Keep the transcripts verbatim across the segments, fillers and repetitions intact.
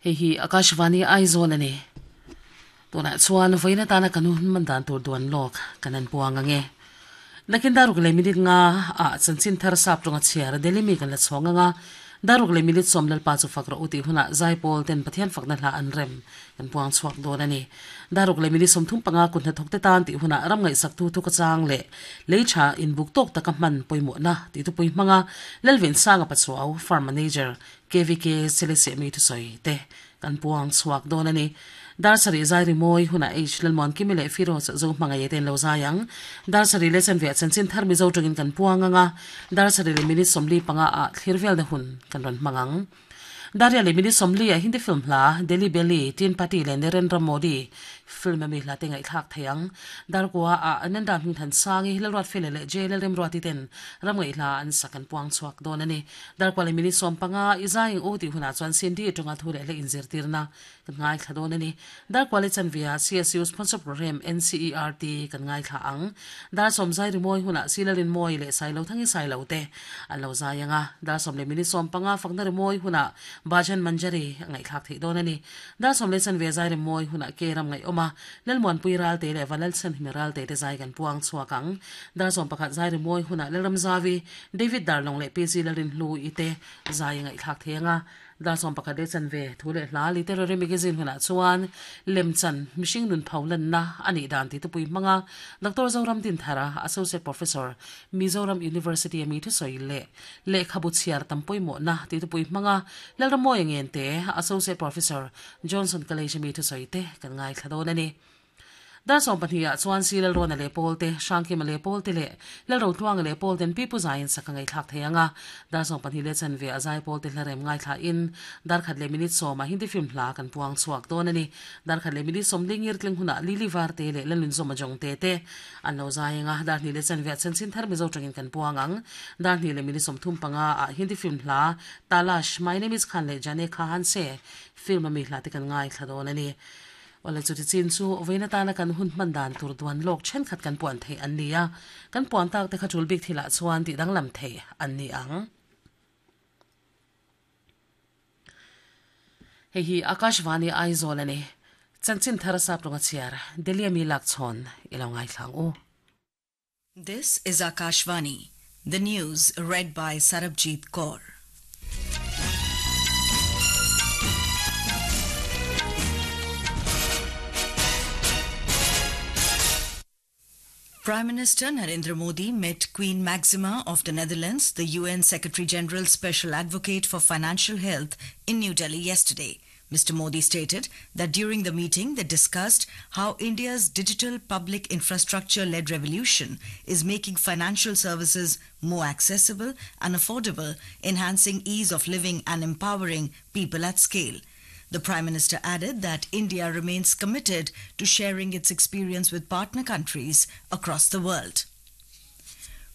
Hei hi Akashvani Aizawl ani. Tunah chuan vawiin atana kan hun hman dan tur duan lawk kan an puang ange. Nakin daruk leh minute nga ah chanchin thar sap tawnga chhiar Delhi mi kan la chhawng anga daruk leh minute sawm lalpa chu fak rawh u tih hunah zaipawl ten Pathian fakna hla an rem kan puang chhuak dawn a ni. Daruk leh minute sawmthum panga kut hnathawk te tan tih hunah ram ngaihsak tu thu ka chang leh lei tha inbuk tawk taka hman pawimawhna tih thupui hmanga Lalvensanga Pachuau Farm Manager K V K Selesehmi thusawi te kan puang chhuak dawn a ni. Dar sarih zai rimawi hunah H Lalmuan Kimi leh Firoz zo hmangaih te an lo zai ang. Dar sarih leh chanve ah chanchin thar Mizo tawngin kan puang ang a, dar sarih leh minute sawmli panga ah thlir velna hun kan rawn hmang ang. Daria leh minute sawmli ah Hindi film hla Delhi Belly, Teen Patti leh Narendra Modi film ami hla te ngaihthlak thei ang. Darkua ah Ananda Hmingthan Sangi, Lalruat Fele leh J Lalremruati ten ram ngaihhla an sak an puang chhuak dawn a ni. Darkua leh minute sawm panga i zai eng u tih hunah chuan Cindy tawnga thu leh hle inzirtirna kan ngaithla dawn a ni. Darkua leh chanvia C S U sponsor program N C E R T kan ngaithla ang. Dar sawm zai rimawi hunah Silalin Mawi leh Sailo Thangi Sailo te an lo zai ang a. Dar sawm leh minute sawm panga fakna rimawi hunah Bhajan Manjari a ngaihthlak theih dawn a ni. Dar sawm leh chanvia zai rimawi hunah Ke ram ngaihawm a, Lalmuanpui Ralte leh Vanlalchhanhimi Ralte te zai kan puang chhuak ang. Dar sawm pakhat zai rimawi hunah Lalramzavi, David Darlawng leh P G Lalrinhlu i te zai a ngaihthlak thei ang a. Dar sawm pakhat leh chanve thu leh hla literary magazine hunah chuan lemchan mihring nun pho lanna a nih dan tih tupui hmanga Doctor Zoram Dinthara, Associate Professor, Mizoram University a mi thusawi leh lehkhabu chhiar tam pawimawhna tih tupui hmanga Lalramawia Ngente, Associate Professor, Johnson College a mi thusawi te kan ngaithla dawn a ni. Dar sawm pahnih ah chuan Si Lalrawna leh Pawl te, Hrangkima leh Pawl te leh Lalrotluanga leh Pawl ten Pipu zaiin sak a ngaihthlak thei ang a. Dar sawm pahnih leh chanve a zai Pawl te hla rem ngaithla in dar khat leh minute sawm ah Hindi film hla kan puang chhuak dawn a ni. Dar khat leh minute sawm lingir tling hunah Lily Varte leh Lalnunzawma Jong te te an lo zai ang a. Dar hnih leh chanve ah chanchin thar Mizo tangin kan puang ang. Dar hnih leh minute sawmthum panga ah Hindi film hla Talash, My Name is Khan leh Jane Khahan Se film a mi hla te kan ngaithla dawn a ni. Awle chuti chin chu vawiin atana kan hun hman dan tur duan lawk thenkhat kan puan theih an ni a, kan puan tak te kha tul bik thilah chuan tih danglam theih an ni ang. Hei hi Akashvani Aizawl a ni. Chanchin thar sap rawnga chhiar Delhi ami lak chhawn i lo ngaithlang u. This is Akashvani, the news read by Sarabjit Kaur. Prime Minister Narendra Modi met Queen Maxima of the Netherlands, the U N Secretary General's Special Advocate for Financial Health, in New Delhi yesterday. Mister Modi stated that during the meeting they discussed how India's digital public infrastructure-led revolution is making financial services more accessible and affordable, enhancing ease of living and empowering people at scale. The Prime Minister added that India remains committed to sharing its experience with partner countries across the world.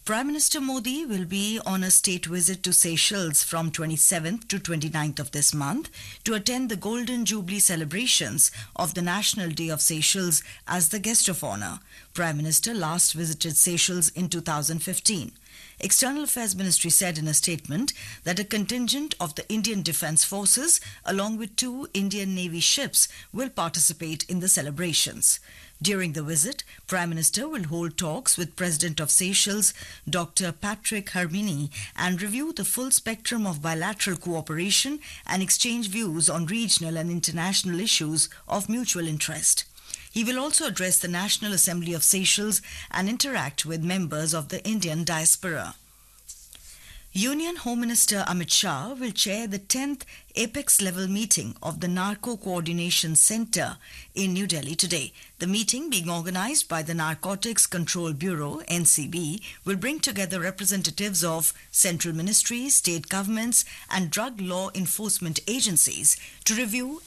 Prime Minister Modi will be on a state visit to Seychelles from twenty-seventh to twenty-ninth of this month to attend the Golden Jubilee celebrations of the National Day of Seychelles as the guest of honor. Prime Minister last visited Seychelles in two thousand fifteen. External Affairs Ministry said in a statement that a contingent of the Indian Defence Forces along with two Indian Navy ships will participate in the celebrations. During the visit, Prime Minister will hold talks with President of Seychelles, Doctor Patrick Herminie, and review the full spectrum of bilateral cooperation and exchange views on regional and international issues of mutual interest. He will also address the National Assembly of Seychelles and interact with members of the Indian diaspora. Union Home Minister Amit Shah will chair the tenth Apex level meeting of the Narco Coordination Centre in New Delhi today. The meeting, being organised by the Narcotics Control Bureau, N C B, will bring together representatives of central ministries, state governments and drug law enforcement agencies to review